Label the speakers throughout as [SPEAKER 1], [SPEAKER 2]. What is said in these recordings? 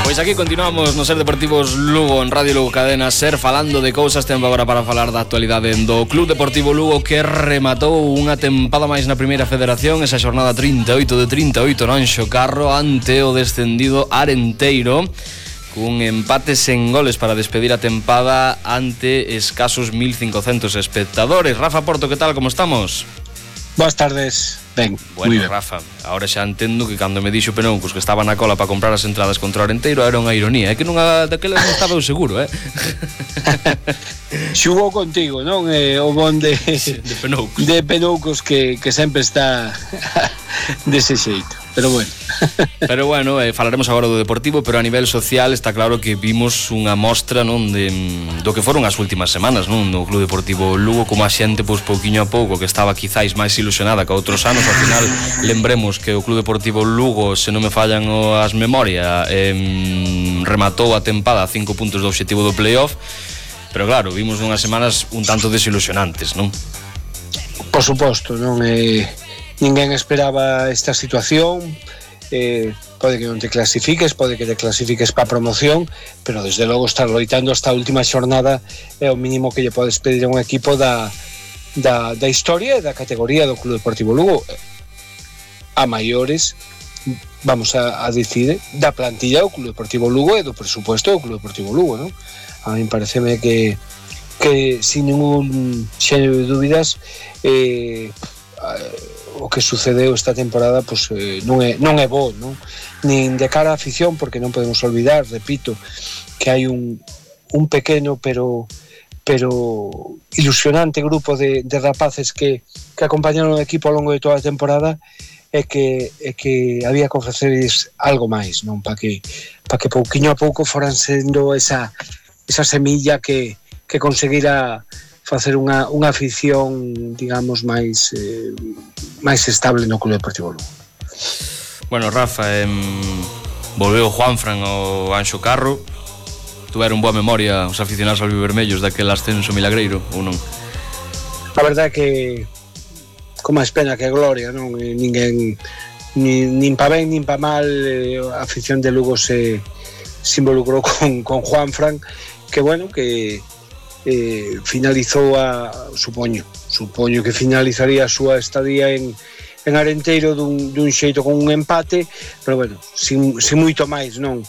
[SPEAKER 1] Pois aquí continuamos no Ser Deportivos Lugo en Radio Lugo Cadena Ser, falando de cousas. Tempo agora para falar da actualidade do Club Deportivo Lugo, que rematou unha tempada máis na primeira federación, esa xornada 38 de 38 no Anxo Carro ante o descendido Arenteiro, cun empate sen goles para despedir a tempada ante escasos 1500 espectadores. Rafa Porto, que tal, como estamos?
[SPEAKER 2] Boas tardes. Ben,
[SPEAKER 1] bueno, Rafa, ahora xa entendo que cando me dixo Penoucos que estaba na cola para comprar as entradas contra o Arenteiro era unha ironía, é que nunha daquelas non estaba eu seguro,
[SPEAKER 2] Xugou contigo, non? O bon de
[SPEAKER 1] Penoucos.
[SPEAKER 2] De Penoucos que sempre está dese xeito. Pero bueno.
[SPEAKER 1] Pero bueno, falaremos agora do Deportivo, pero a nivel social está claro que vimos unha mostra, non, do que foron as últimas semanas, non, no Club Deportivo Lugo, como a xente, pois, pouquiño a pouco, que estaba quizáis máis ilusionada que outros anos. Ao final, lembremos que o Club Deportivo Lugo, se non me fallan as memorias, rematou a tempada a 5 puntos do obxectivo do playoff, pero claro, vimos unhas semanas un tanto desilusionantes, non?
[SPEAKER 2] Por suposto, non ninguén esperaba esta situación. Pode que non te clasifiques, pode que te clasifiques para a promoción, pero desde logo estar loitando hasta a última xornada é o mínimo que lle podes pedir a un equipo da historia e da categoría do Club Deportivo Lugo. A maiores, vamos a dicir, da plantilla do Club Deportivo Lugo e do presupuesto do Club Deportivo Lugo, non? A mí pareceme que sin ningún xénero de dúbidas o que sucedeu esta temporada pois, non é bo, non? Nin de cara á afición, porque non podemos olvidar, repito, que hai un pequeno pero ilusionante grupo de rapaces que acompañaron o equipo ao longo de toda a temporada e que había que ofrecerles algo máis, non? Para que pouquiño a pouco foran sendo esa semilla que conseguira facer unha afición, digamos, máis estable no Club Deportivo Lugo.
[SPEAKER 1] Bueno, Rafa, volveu Juanfran ao Anxo Carro. Tuveron boa memoria os aficionados albivermellos daquele ascenso milagreiro, ou non?
[SPEAKER 2] A verdade é que con máis pena que gloria, non? Ninguén, nin pa ben nin pa mal, a afición de Lugo se involucrou con Juanfran, que bueno, que finalizou supoño que finalizaría a súa estadía en Arenteiro dun xeito con un empate, pero bueno, sin moito máis, non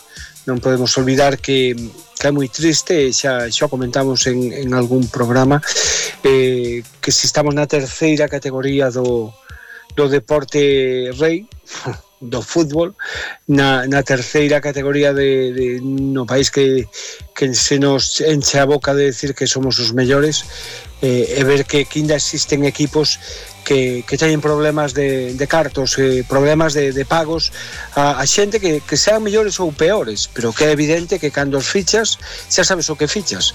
[SPEAKER 2] podemos olvidar que é moi triste, xa comentamos en algún programa, que se estamos na terceira categoría do deporte rei, do fútbol, na terceira categoría no país que se nos enche a boca de decir que somos os mellores, e ver que ainda existen equipos que teñen problemas de cartos, problemas de pagos a xente que sean mellores ou peores, pero que é evidente que cando os fichas xa sabes o que fichas,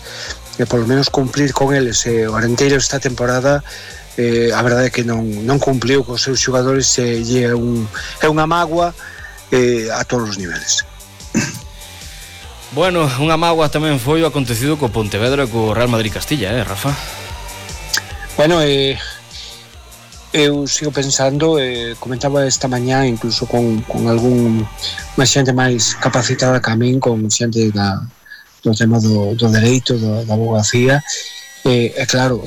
[SPEAKER 2] e polo menos cumplir con eles. O Arenteiro esta temporada a verdade é que non cumpliu cos seus xogadores, é unha mágoa a todos os niveles.
[SPEAKER 1] Bueno, unha mágoa tamén foi o acontecido co Pontevedra e co Real Madrid Castilla, Rafa?
[SPEAKER 2] Bueno, eu sigo pensando, comentaba esta mañá incluso con unha xente máis capacitada que a min, con xente do tema do dereito, da abogacía, claro,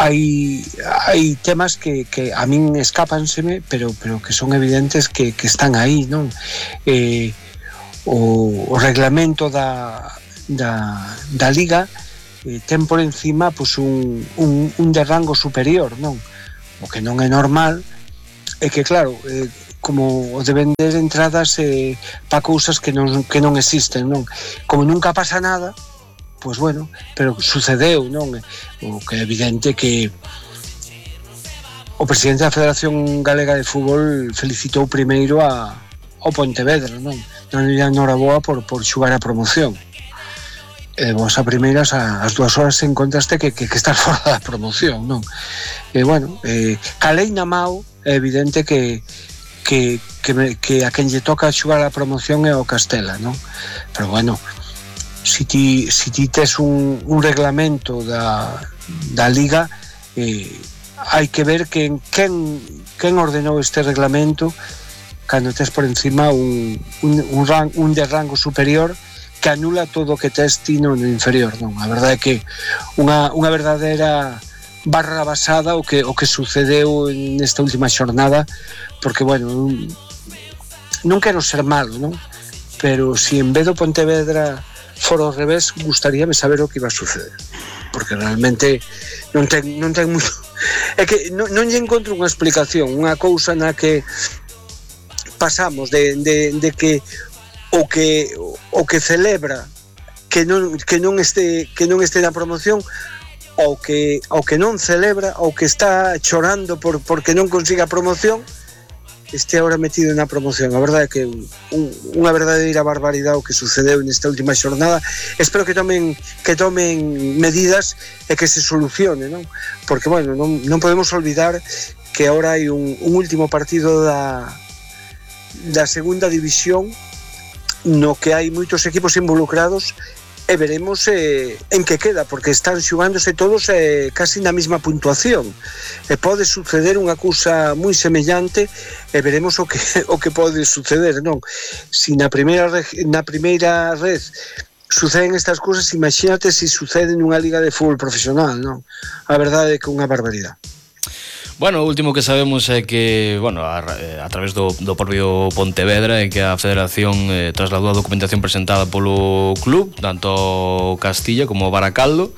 [SPEAKER 2] hai temas que a min escápanseme, pero que son evidentes que están aí, non? O reglamento da Liga ten por encima pois, un de rango superior, non? O que non é normal é que, claro, como o de vender entradas para cousas que non existen, non? Como nunca pasa nada, pois bueno, pero sucedeu, non? O que é evidente que o presidente da Federación Galega de Fútbol felicitou primeiro ao Pontevedra, non? Non lle noraboa por xugar a promoción. Vos a primeiras, as 2 horas encontraste que estás fora da promoción, non? Bueno, calei na Mao, é evidente que a quen lle toca xugar a promoción é o Castela, non? Pero bueno, si ti tes un reglamento da Liga, hai que ver quen ordenou este reglamento, cando tes por encima un de rango superior que anula todo o que tes ti no inferior, non? A verdade é que unha verdadeira barra basada o que sucedeu nesta última xornada, porque, bueno, non quero ser malo, non? Pero si en vez do Pontevedra fora ao revés, gustaríame saber o que iba a suceder, porque realmente non ten moito. É que non lle encontro unha explicación, unha cousa na que pasamos de que o que celebra que non este na promoción ao que non celebra, ao que está chorando porque non consiga a promoción, este ahora metido na promoción. A verdade é que unha verdadeira barbaridade o que sucedeu nesta última xornada. Espero que tomen medidas e que se solucione, non? Porque, bueno, non podemos olvidar que ahora hai un último partido da segunda división no que hai moitos equipos involucrados e veremos en que queda, porque están xugándose todos casi na mesma puntuación e pode suceder unha cousa moi semellante e veremos o que pode suceder, non? Si na primeira red suceden estas cousas, imagínate se sucede nunha liga de fútbol profesional, non? A verdade é que é unha barbaridade.
[SPEAKER 1] Bueno, o último que sabemos é que, bueno, a través do propio Pontevedra, é que a Federación trasladou a documentación presentada polo club, tanto Castilla como Baracaldo.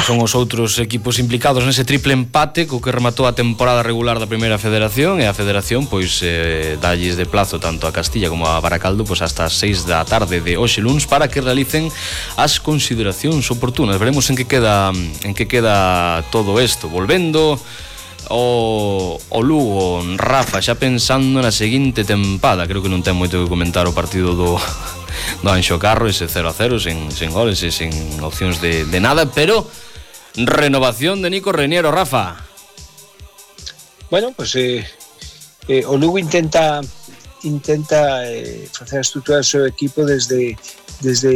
[SPEAKER 1] Son os outros equipos implicados nese triple empate co que rematou a temporada regular da Primeira Federación, e a Federación pois dalles de plazo tanto a Castilla como a Baracaldo pois hasta as 6 da tarde de hoxe luns para que realicen as consideracións oportunas. Veremos en que queda todo isto. Volvendo o Lugo, Rafa, xa pensando na seguinte tempada, creo que non ten moito que comentar o partido do Anxo Carro, ese 0-0 sen goles e sen opcións de nada, pero renovación de Nico Reñero, Rafa.
[SPEAKER 2] Bueno, pues o Lugo intenta facer a estrutura do seu equipo desde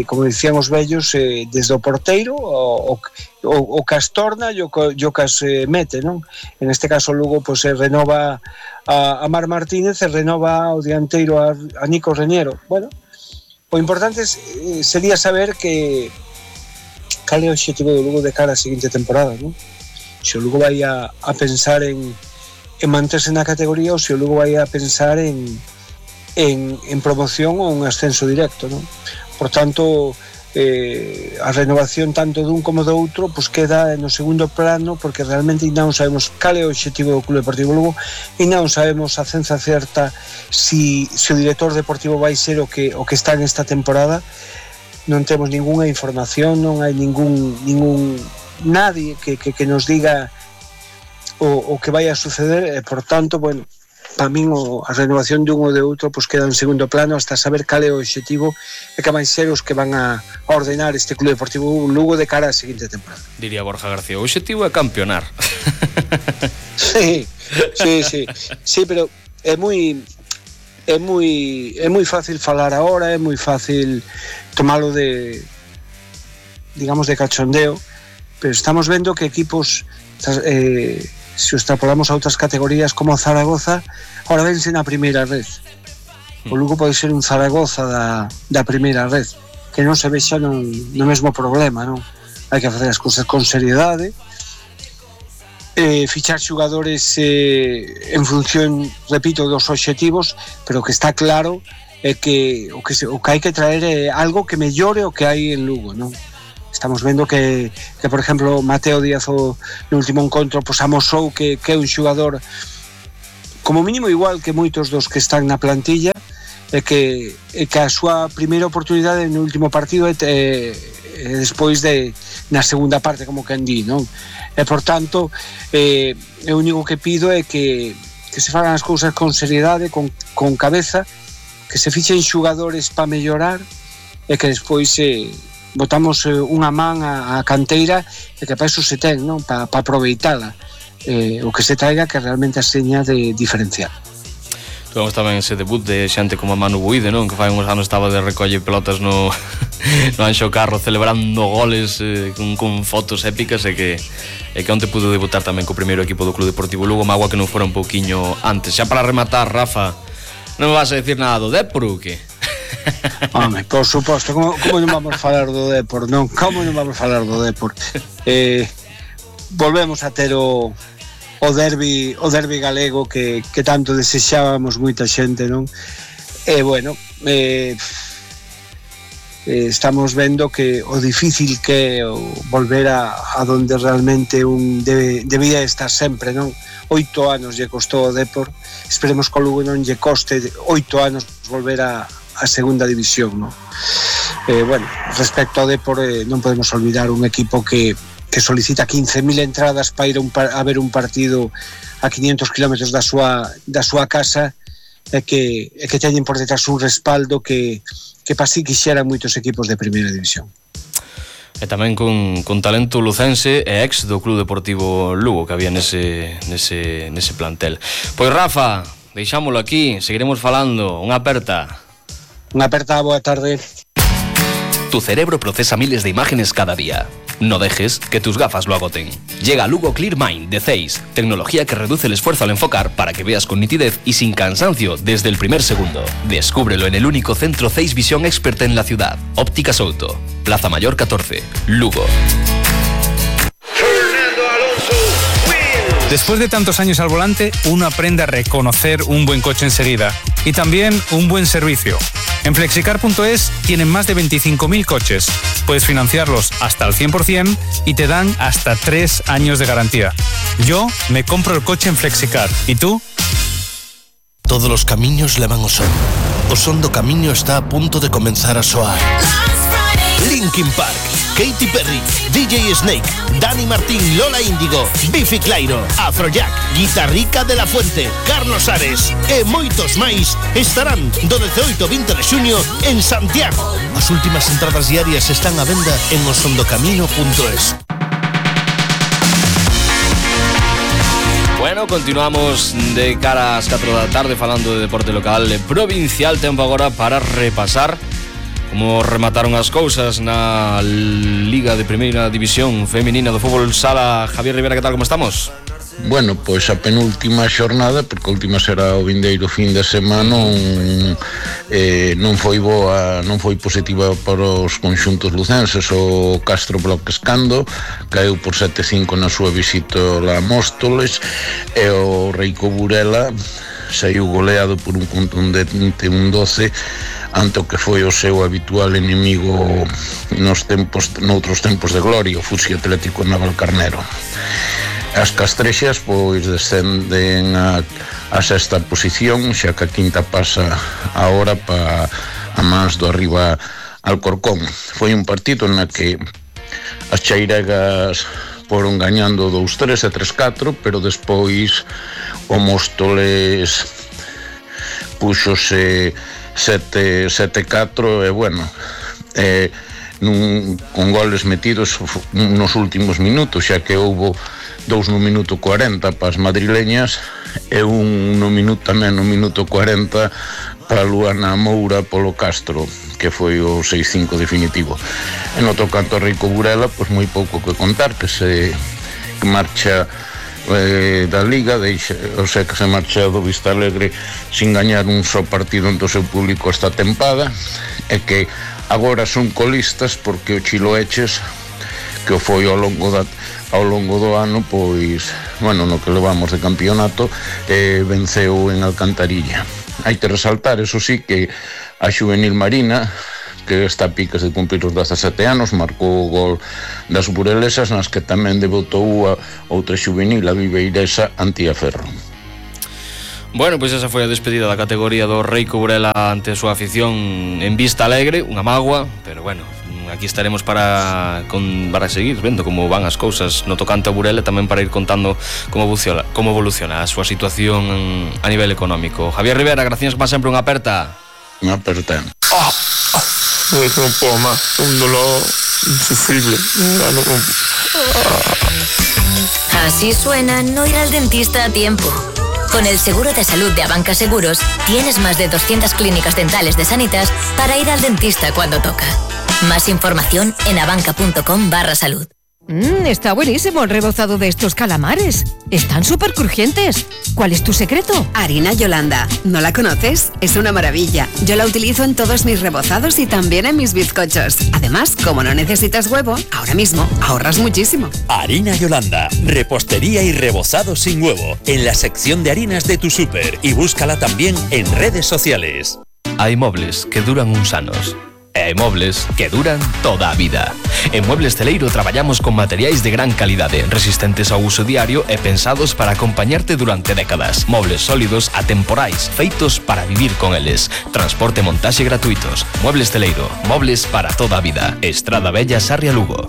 [SPEAKER 2] como dicían os vellos, desde o porteiro o Castorna e o Cas mete, non? En este caso o Lugo pues, renova a Mar Martínez e renova o dianteiro a Nico Reñero. Bueno, o importante sería saber cal é o objetivo do Lugo de cara a seguinte temporada, non? Se o Lugo vai a pensar en manterse na categoría ou se o Lugo vai a pensar en promoción ou un ascenso directo, non? Por tanto, a renovación tanto dun como do outro pues queda no segundo plano, porque realmente non sabemos cal é o objetivo do Club Deportivo Lugo e non sabemos a ciencia certa si o director deportivo vai ser o que está nesta temporada. Non temos ninguna información, non hai ningún nadie que nos diga o que vai a suceder e, por tanto, bueno, para min a renovación dun ou de outro pues queda en segundo plano hasta saber cal é o objetivo e que van ser os que van a ordenar este Club Deportivo Lugo de cara á seguinte temporada.
[SPEAKER 1] Diría Borja García, o objetivo é campeonar.
[SPEAKER 2] Sí, pero é moi fácil falar agora, é moi fácil tomalo de cachondeo, pero estamos vendo que equipos se o extrapolamos a outras categorías como Zaragoza, ahora vense na primeira red. O Lugo pode ser un Zaragoza da primeira red, que non se vexa no mesmo problema, non? Hai que facer as cousas con seriedade, fichar xugadores en función, repito, dos obxectivos, pero que está claro é que o que hai que traer é algo que mellore o que hai en Lugo, non? Estamos vendo que por exemplo, Mateo Díaz no último encontro pues, amosou que é un xogador como mínimo igual que moitos dos que están na plantilla e que a súa primeira oportunidade no último partido é despois na segunda parte, como quen di, non? E por tanto, o único que pido é que se fagan as cousas con seriedade, con cabeza, que se fichen xogadores para mellorar e que despois botamos unha man a canteira e que para iso se ten, non? Para aproveitala, o que se traiga que realmente a seña de diferencial.
[SPEAKER 1] Tuvemos tamén ese debut de xente como Manu Buide, non? Que fai uns anos estaba de recolle pelotas no Anxo Carro celebrando goles con fotos épicas e que onte pudo debutar tamén co primeiro equipo do Club Deportivo Lugo, magua que non fora un pouquiño antes. Xa para rematar, Rafa, Non me vas a decir nada do Depor ou que?
[SPEAKER 2] Home, por suposto, como non vamos falar do Depor, non? Como non vamos falar do Depor? Volvemos a ter o derbi galego que tanto desexábamos moita xente, non? E bueno, estamos vendo que o difícil que é volver a donde realmente un debía estar sempre, non? 8 anos lle costou o Depor, esperemos que o Lugo non lle coste 8 anos volver a segunda división, non? Bueno, respecto ao Depor, non podemos olvidar un equipo que solicita 15.000 entradas para ir a ver un partido a 500 km da súa casa, e que teñen por detrás un respaldo que para si quixeran moitos equipos de primeira división.
[SPEAKER 1] E tamén con talento lucense e ex do Club Deportivo Lugo que había nese plantel. Pois Rafa, deixámolo aquí, seguiremos falando. Unha aperta,
[SPEAKER 2] boa tarde.
[SPEAKER 3] Tu cerebro procesa miles de imágenes cada día. No dejes que tus gafas lo agoten. Llega Lugo Clear Mind de Zeiss, tecnología que reduce el esfuerzo al enfocar para que veas con nitidez y sin cansancio desde el primer segundo. Descúbrelo en el único centro Zeiss Visión Expert en la ciudad. Óptica Souto, Plaza Mayor 14, Lugo.
[SPEAKER 4] Después de tantos años al volante, uno aprende a reconocer un buen coche enseguida y también un buen servicio. En Flexicar.es tienen más de 25.000 coches. Puedes financiarlos hasta el 100% y te dan hasta 3 años de garantía. Yo me compro el coche en Flexicar. ¿Y tú?
[SPEAKER 5] Todos los camiños levan o son. O son do camiño está a punto de comenzar a soar. Linkin Park, Katy Perry, DJ Snake, Dani Martín, Lola Índigo, Biffy Clyro, Afrojack, Guitarrica de la Fuente, Carlos Ares e moitos máis estarán do 18 ao 20 de xuño en Santiago. As últimas entradas diarias están á venda en osondocamino.es.
[SPEAKER 1] Bueno, continuamos de cara ás 4 da tarde falando de deporte local e provincial. Tempo agora para repasar como remataron as cousas na Liga de Primeira División Feminina do Fútbol Sala. Javier Rivera, que tal, como estamos?
[SPEAKER 6] Bueno, pois a penúltima xornada, porque a última será o vindeiro fin de semana, non foi positiva para os conxuntos lucenses. O Castro Bloques Cando caeu por 7-5 na súa visita a Móstoles, e o Reico Burela saiu goleado por un contundente 1-12 ante o que foi o seu habitual inimigo noutros tempos de gloria, o Fusi Atlético Navalcarnero. As castrexas pois descenden a sexta posición, xa que a quinta pasa agora para a mans do arriba Alcorcón. Foi un partido na que as chairegas foron gañando 2-3 e 3-4, pero despois o Móstoles puxose 7-4 e bueno, con goles metidos nos últimos minutos, xa que houbo 2 no minuto 40 para as madrileñas e un no minuto 40 para Luana Moura polo Castro, que foi o 6-5 definitivo. En outro canto, Reico Burela, pois moi pouco que contar, que marcha da Liga, o sea que se marcha do Vista Alegre sin gañar un só partido ante o seu público esta tempada, e que agora son colistas porque o Chiloeches, que o foi ao longo do ano, pois, bueno, no que levamos de campeonato, venceu en Alcantarilla. Hai que resaltar, eso sí, que a Xuvenil Marina, que está a piques de cumplir os 17 anos, marcou o gol das burelesas, nas que tamén debutou a outra xuvenil, a viveiresa Antía Ferro.
[SPEAKER 1] Bueno, pois esa foi a despedida da categoría do Reico Burela ante a súa afición en Vista Alegre, unha mágoa, pero bueno, aquí estaremos para seguir vendo como van as cousas no tocante a Burela, tamén para ir contando como evoluciona a súa situación a nivel económico. Javier Rivera, gracias como sempre, unha aperta.
[SPEAKER 6] Unha aperta.
[SPEAKER 7] Non podo máis, un dolor insufrible.
[SPEAKER 8] Así suena no ir al dentista a tiempo. Con el seguro de salud de Abanca Seguros, tienes más de 200 clínicas dentales de Sanitas para ir al dentista cuando toca. Más información en abanca.com/salud.
[SPEAKER 9] Está buenísimo el rebozado de estos calamares. Están súper crujientes. ¿Cuál es tu secreto?
[SPEAKER 10] Harina Yolanda. ¿No la conoces? Es una maravilla. Yo la utilizo en todos mis rebozados y también en mis bizcochos. Además, como no necesitas huevo, ahora mismo ahorras muchísimo.
[SPEAKER 11] Harina Yolanda. Repostería y rebozado sin huevo. En la sección de harinas de tu súper. Y búscala también en redes sociales.
[SPEAKER 3] Hai mobles que duran uns anos e hai mobles que duran toda a vida. En Muebles Celeiro traballamos con materiais de gran calidade, resistentes ao uso diario e pensados para acompañarte durante décadas. Mobles sólidos, atemporais, feitos para vivir con eles. Transporte e montaxe gratuitos. Muebles Celeiro, mobles para toda a vida. Estrada Bella, Sarria, Lugo.